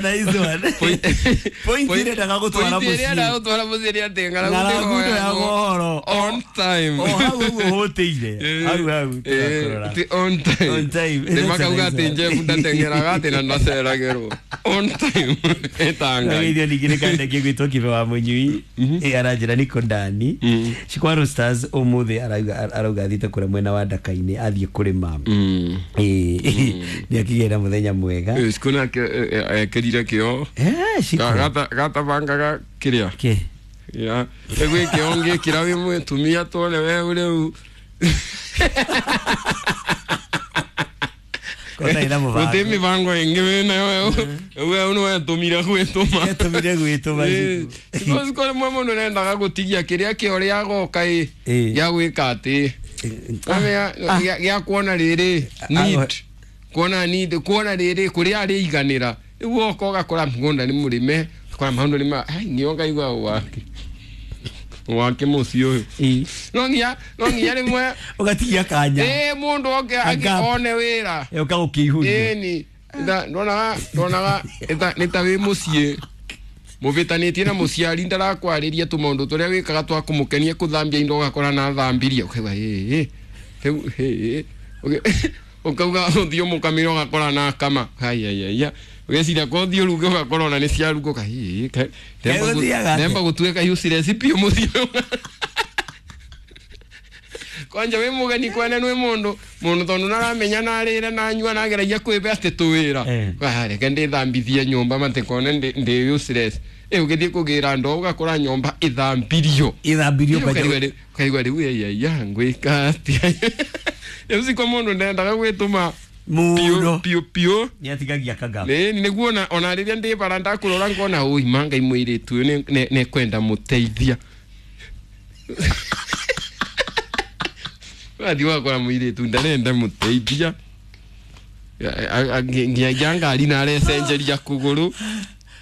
Nice one. Point ĩrĩa endaga gũtwara Point ĩrĩa mũciĩ. endaga gũtwara mũciĩ nĩ atĩ ng'aragu Ng'aragu ndĩhoyagwo ndĩhoyagwo on time. O hau ũguo hũtĩire. Hau hau tũrakũrora. Ti on time. On time. Nĩ makauga atĩ That's a nice Jeff one. ndateng'eraga atĩ na ndaceragĩrwo. On time. Ĩta Ngai. Ngeithio ningĩ nĩ kanda kĩgwĩtwo Kibe wa Mũnyui. Aranjĩra niko ndani. Shikwa Roasters ũmũthĩ arauga athiĩte kũrĩa mwena wa Ndaka-inĩ athiĩ kũrĩma. Nĩ akĩgĩa na mũthenya mwega. Siku nake ekĩrire kĩo. Shiko. Gatabangaga kĩrĩa. Kĩ? Ya. Rĩu kĩo ngĩkĩra wĩ mũtumia tuone we rĩu. Kona ina mũbango. Gũtirĩ mĩbango ĩngĩ wĩnayo we nĩ wetũmire gwĩtũma. Etũmire gwĩtũma. Shiko. Siko rĩmwe mũndũ nendaga gũtigia kĩrĩa kĩo rĩa goka ĩ gĩa gwĩka atĩ gĩa kuona rĩrĩ need kuona need kuona rĩrĩ kũrĩa arĩiganĩra rĩu woka ũgakora mũgũnda nĩ mũrĩme ũgakora maũndũ nĩ ma ai nĩo ngaigua wake wake mũciĩ ũyũ no nginya rĩmwe Ũgatigia kanya. ĩ mũndũ oke A gap. one wĩra Ũka gũkĩihũria. ĩni ndonaga nĩ ta wĩ mũciĩ mũvĩtanĩtie na mũciari ndarakwarĩria tũmaũndũ tũrĩa wĩkaga twa kũmũkenia kũthambia indo ũgakora na thambirie ũkauga ĩĩ rĩu ĩĩ ũkauga ũthiĩ ũmũkamĩre ũgakora na kama haiyaiyaiya ũgeciria ko ũthiĩ ũruge ũgakora ona nĩ ciaruga ũka ĩĩ Gũthiaga atĩa? ndemba gũtuĩka useless biũ mũciĩ kwanja wĩ mũgeni kwene nĩ mũndũ mũndũ tondũ naramenya narĩre nanyua nageragia kwĩbe atĩ tũwĩra reke ndĩthambithie nyũmba matikone ndĩ useless ĩ ũgĩthiĩ kũgĩra ndoo ũgakora nyũmba ĩthambirio Ĩthambirio Ũkaigua ũkaigua rĩu ĩyaiya ngwĩka atĩa rĩu siko mũndũ ndendaga gwĩtũma Mũno. piũ piũ Nĩ atigagia kagap. Ĩĩ nĩguo ona rĩrĩa ndĩ bara ndakũrora ngona ũi ma Ngai mũirĩtu ũyũ nĩkwenda mũteithia wathiĩ ũgakora mũirĩtu ndarenda mũteithia nginya ngari na arecenjeria kũgũrũ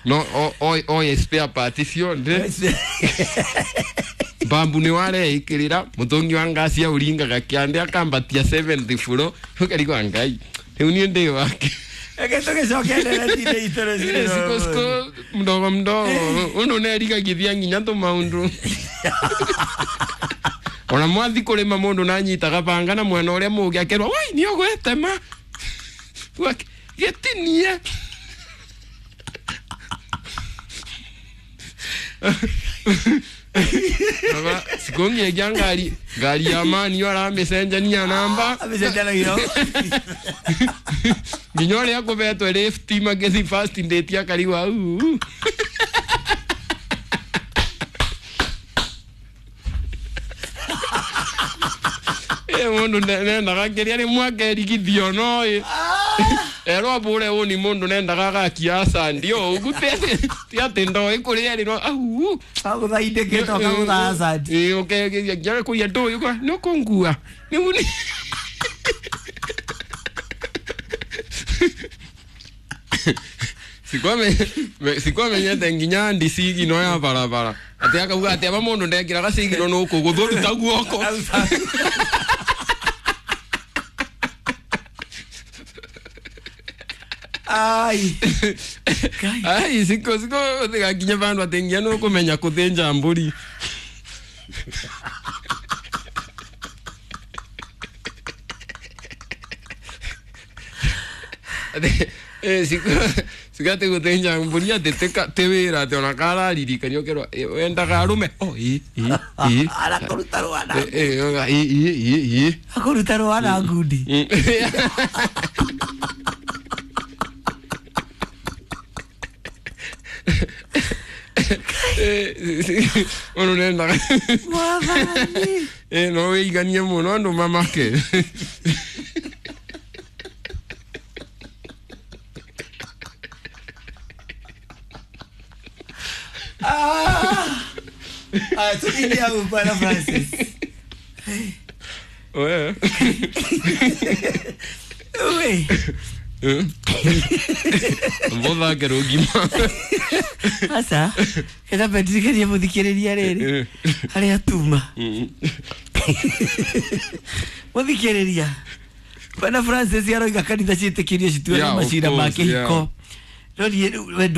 no oye spare part ciothe mbambu nĩ wareikĩrĩra mũtũngi wa ngasi auringaga kĩande akambatia 7th floor ũkarigwo Ngai rĩu niĩ ndĩ wake Reke tũgĩcoke ndereti-inĩ itũ rũcinĩ Siko rwa siko ũmũthĩ. mdogo mdogo undu nerigagithia nginya tumaundu ona mwathi kurima mundu nanyitaga banga na mwena uria mugi akerwa wai ni ugwetema gitinie Aba sikongiagia ngari ngari ya mani yo aramicenjania namba Amĩcenjanagia. nginya ũrĩa akũbetwo lift magĩthi fast ndĩti akarigwa "Uu." Ĩ, mũndũ nendaga kĩrĩa rĩmwe akerigithio no ĩ erwo abũre ũni mũndũ nendaga agakia acandi o ũguo ti atĩ ndoĩ kũrĩa ĩrĩ no au Agũtha indĩkĩte ũkagũtha hazard. ĩ ũkegeria nginya kũria ndũĩ ũka nĩ ũkũngua nĩguo nĩ sikwamenyete nginya ndi sigino ya barabara atĩ akauga atĩ aba mũndũ ndekĩraga sigino nũkũgũthũruta guoko Ai. Kai. ai siko siko tigakinye vandu atĩ nginya nũkũmenya kũthĩnja mbũri Atĩ, siko siko atĩ gũthĩnja mbũri atĩ tĩ wĩra atĩ ona kararirikanio ũkerwo wendaga arũme o ĩ ĩ ĩ Arakũruta rwana. Ĩ, ĩ, ĩ, ĩ, ĩ, ĩ. Akũruta rwana ngundi. Ũndũ nendaga Mwathani. No wĩiganie mũno andũ mamake Ah. Ah, tukiingia hau Bwana Francis. We. We. Mbothake rũgima Aca. Kĩtambe ndirikanie mũthikĩrĩria rĩrĩ harĩa tuma. Mũthikĩrĩria. Bwana Francis aroiga kanitha ciĩtĩkĩrio cituĩre Yeah, of macira ma course, kĩhiko. yeah. No niĩ we.